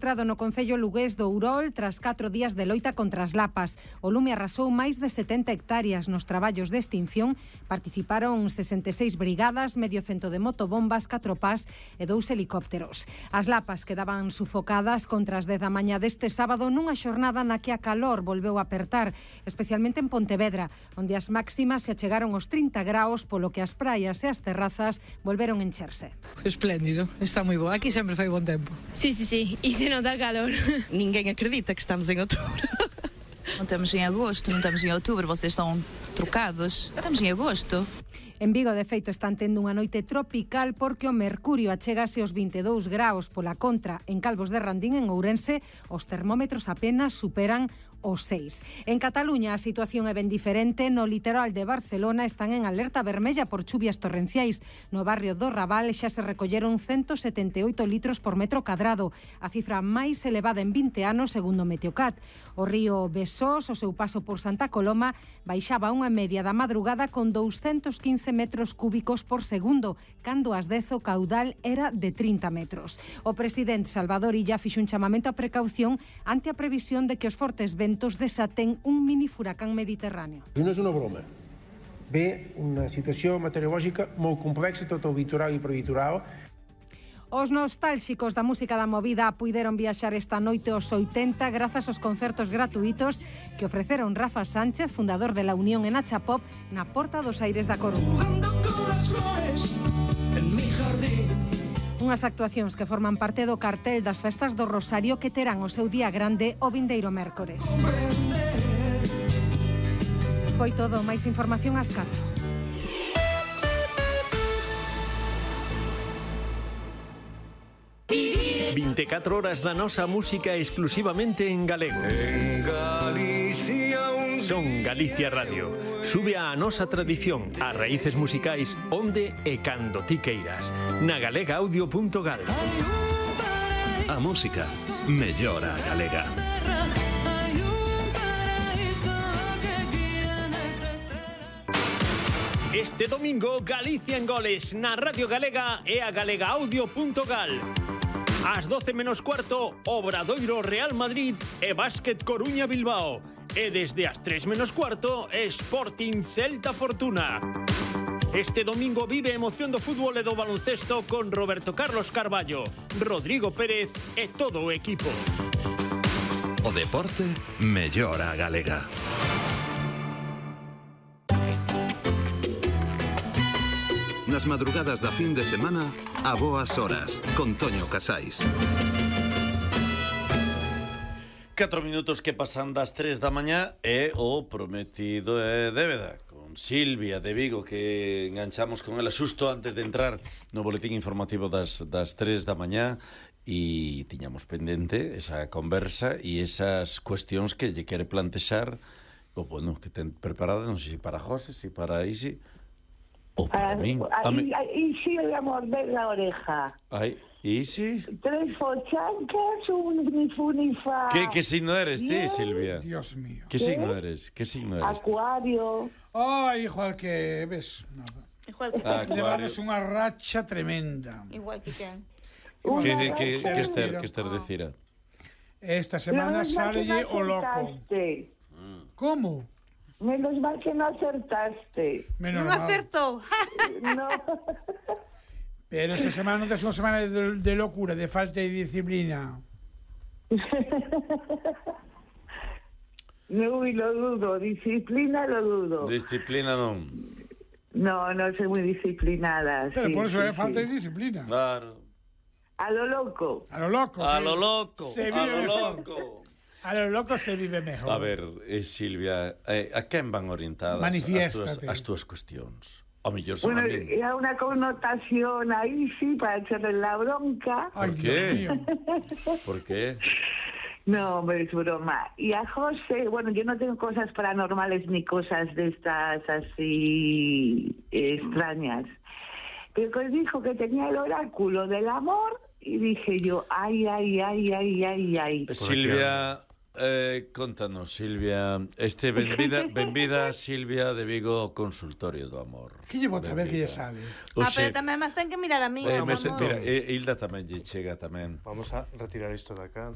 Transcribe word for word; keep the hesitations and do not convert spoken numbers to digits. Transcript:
rexistrado no concello lugués do Ourol tras catro días de loita contra as lapas. O lume arrasou máis de setenta hectáreas. Nos traballos de extinción participaron sesenta e seis brigadas, medio cento de motobombas, catro pás e dous helicópteros. As lapas quedaban sufocadas contra as dez da mañá deste sábado nunha xornada na que a calor volveu a apertar, especialmente en Pontevedra, onde as máximas se achegaron aos trinta graus, polo que as praias e as terrazas volveron encherse. Espléndido, está moi bo. Aquí sempre fai bon tempo. Sí, sí, sí, e se nota o calor. Ninguén acredita que estamos em outubro. Não estamos em agosto, não estamos em outubro, vocês estão trocados. Estamos em agosto. En Vigo, de feito, están tendo unha noite tropical porque o mercurio achégase aos vinte e dous graus. Pola contra, en Calvos de Randín, en Ourense, os termómetros apenas superan os seis. En Cataluña a situación é ben diferente. No litoral de Barcelona están en alerta vermella por chuvias torrenciais. No barrio do Raval xa se recolleron ciento setenta e oito litros por metro cadrado, a cifra máis elevada en vinte anos segundo Meteocat. O río Besós, o seu paso por Santa Coloma, baixaba unha media da madrugada con douscentos quince metros cúbicos por segundo, cando ás dez o caudal era de trinta metros. O presidente Salvador Illa fixo un chamamento a precaución ante a previsión de que os fortes ventos desaten un mini furacán mediterráneo. Non é unha broma. Ve unha situación meteorológica moi complexa, tanto o litoral e para o litoral. Os nostálxicos da música da movida puideron viaxar esta noite aos oitenta grazas aos concertos gratuitos que ofreceron Rafa Sánchez, fundador de La Unión en Achapop, na Porta dos Aires da Coruña. Unhas actuacións que forman parte do cartel das festas do Rosario que terán o seu día grande o vindeiro mércores. Foi todo, máis información ás catro. vinte e catro horas da nosa música exclusivamente en galego. En Galicia un... Son Galicia Radio. Sube a nosa tradición, as raíces musicais, onde e cando ti queiras. Na galega audio punto gal. A música mellora a galega. Este domingo, Galicia en goles na Radio Galega e a galega audio punto gal. Ás doce menos cuarto, Obradoiro Real Madrid e Básquet Coruña Bilbao. E desde as tres menos cuarto, Sporting Celta Fortuna. Este domingo vive a emoción do fútbol e do baloncesto con Roberto Carlos Carballo, Rodrigo Pérez e todo o equipo. O deporte mellora a galega. Nas madrugadas da fin de semana, a boas horas, con Toño Casais. Catro minutos que pasan das tres da mañá e o prometido é débeda con Silvia de Vigo, que enganchamos con ela xusto antes de entrar no boletín informativo das, das tres da mañá e tiñamos pendente esa conversa e esas cuestións que lle quere plantexar o bueno, que ten preparada, non sei se para José, se para Isi ou para min. Isi le morder la oreja. Ai, Isi? Tres fochancas, un funifa. ¿Qué, ¿Qué signo eres ti, Silvia? Dios mío. ¿Qué, ¿Qué signo eres? ¿Qué signo eres? Acuario. Ay, igual que ves. Nada. Igual que Ah, Levamos unha racha tremenda. Igual que quen. ¿Qué, qué, qué Esther, qué Esther decira? Esta semana sálelle o loco. ¿Cómo? Menos mal que no acertaste. Menos non mal. acertou. No. Pero esta semana non é unha semana de, de locura, de falta de disciplina. No, lo dudo. Disciplina lo dudo. Disciplina non. No, no soy muy disciplinada. Pero sí, por eso sí, é falta sí. de disciplina. Claro. A lo loco. A lo loco. A se, lo loco. se A vive lo mejor. loco. A lo loco se vive mejor. A ver, eh, Silvia, eh, a quen van orientadas as túas, as túas cuestións? O mellor son Bueno, a mí. era una connotación ahí, sí, para echarle la bronca. ¿Por Ay, qué? Dios mío. ¿Por qué? No, hombre, es broma. Y a José, bueno, yo no tengo cosas paranormales ni cosas de estas así eh, extrañas. Pero que dijo que tenía el oráculo del amor y dije yo, ay, ay, ay, ay, ay, ay. Silvia, eh, contanos, Silvia, este benvida, benvida Silvia de Vigo Consultorio do Amor. Que lle bota a ver que lle sale. Ah, pero tamén máis ten que mirar a mí. Eh, me, mira, eh, Hilda tamén lle chega tamén. Vamos a retirar isto de acá.